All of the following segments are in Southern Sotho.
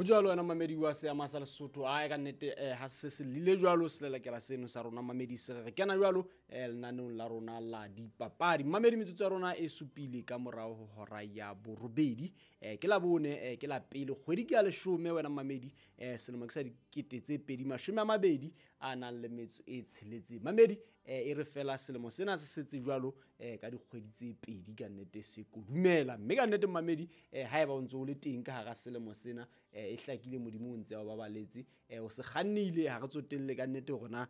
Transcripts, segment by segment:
Ho jwalo wena mamedi wa seama sa Lesotho. Ae, ka nnete, ha se se lile jwalo selelekela seno sa rona mamedi, se re kena jwalo lenaneong la rona la dipapadi. Mamedi, metsotso ya rona e supile ka morao ho hora ya borobedi. Ke la bone, ke la pele kgwedi ke ya leshome wena mamedi, selemo ke sa 2026. Mamedi, e re fela selemo sena se setse jwalo ka dikgwedi tse pedi, ka nnete se kodumela. Mme ka nnete mamedi, haeba o ntso o le teng ka hara selemo sena, e hlakile Modimo o ntse a o babaletse, o se kgannile. Ha re tsotelle ka nnete hore na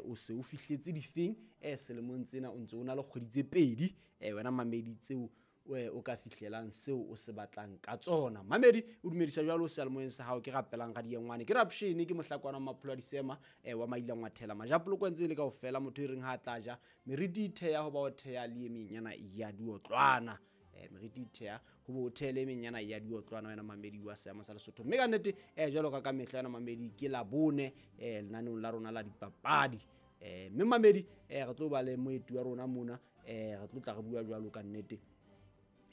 o se o fihletse difeng selemong tsena, o ntse o na le kgwedi tse pedi wena mamedi tseo o ka fihlelang seo o se batlang ka tsona. Mamedi, o dumedisa jwalo seyalemoyeng sa hao ke rapelang radiengwane, ke rapshene, ke mohlakwana wa mapholo a disema, wa maila ngwathela majapoloko ntse e le kaofela, motho e reng ha a tla ja meriti e theha ho ba o theha le e menyana ya diotlwana. Meriti e theha ho bo o thehele e menyana ya diotlwana wena mamedi wa seamo sa Lesotho. Mme ka nnete, jwalo ka mehla wena mamedi, ke la bone, lenaneong la rona la dipapadi. Mme mamedi, re tlo ba le moeti wa rona mona, re tlo tla re bua jwalo ka nnete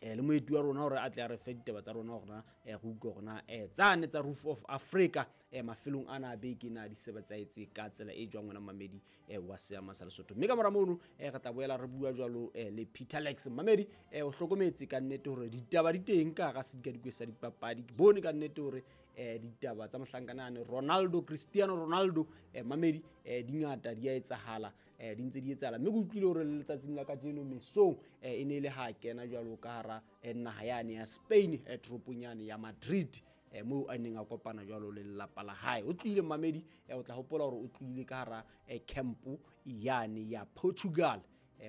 le moeti wa rona hore a tle a re fe ditaba tsa rona, hore na re utlwe hore na tsane tsa Roof of Africa mafelong ana a beke na di sebetsaetse ka tsela e jwang wena mamedi wa seama sa Lesotho. Mme ka mora mono, re tla boela re bua jwalo le Peter Lex. Mamedi, o hlokometse ka nnete hore ditaba di teng ka hara sedikadikwe sa dipapadi. Ke bone ka nnete hore ditaba tsa mohlankana Ronaldo, Cristiano Ronaldo, mamedi, di ngata, di a etsahala, di ntse di etsahala. Mme ke utlwile hore le letsatsing la kajeno mesong, e ne e le ha kena jwalo ka hara naha yane ya Spain, toropong yane ya Madrid, moo a neng a kopana jwalo le lelapa la hae. O tlohile mamedi, o tla hopola hore o tlohile ka hara camp yane ya Portugal,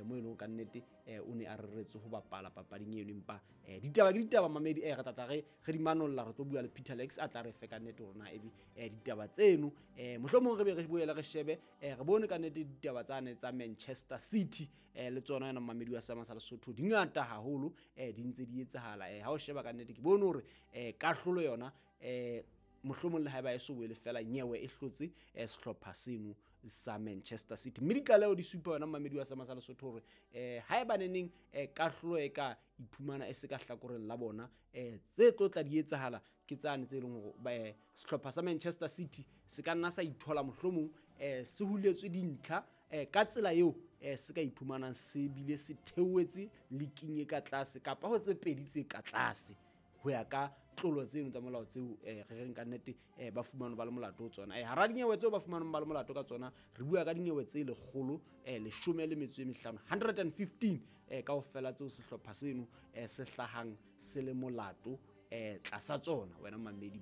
mo e leng ka nnete o ne a reretse ho bapala papading eno. Empa ditaba ke ditaba mamedi, re tla tla re di manolla, re tlo bua le Peter Lex a tla re fe ka nnete hore na ebe ditaba tseno, mohlomong re be re boele re shebe, re bone ka nnete ditaba tsane tsa Manchester City, le tsona yona mamedi wa seama sa Lesotho, di ngata haholo, di ntse di etsahala. Ha o sheba ka nnete, ke bone hore kahlolo yona, mohlomong le haeba e so boele fela nyewe e hlotse sehlopha seno sa Manchester City. Mme ditlaleho di supa yona mamedi wa seama sa Lesotho hore haeba neneng kahlolo e ka iphumana e se ka hlakoreng la bona, tse tlo tla di etsahala ke tsane tse leng hore sehlopha sa Manchester City se ka nna sa ithola mohlomong se huletswe dintlha, ka tsela eo se ka iphumanang se bile se theohetse leking e ka tlase kapa ho tse pedi tse ka tlase, ho ya ka tlolo tseno tsa molao tseo re reng ka nnete ba fumanwe ba le molato ho tsona. Hara dinyewe tseo ba fumanweng ba le molato ka tsona, re bua ka dinyewe tse 115, 115, kaofela tseo sehlopha seno se hlahang se le molato tlasa tsona wena mamedi.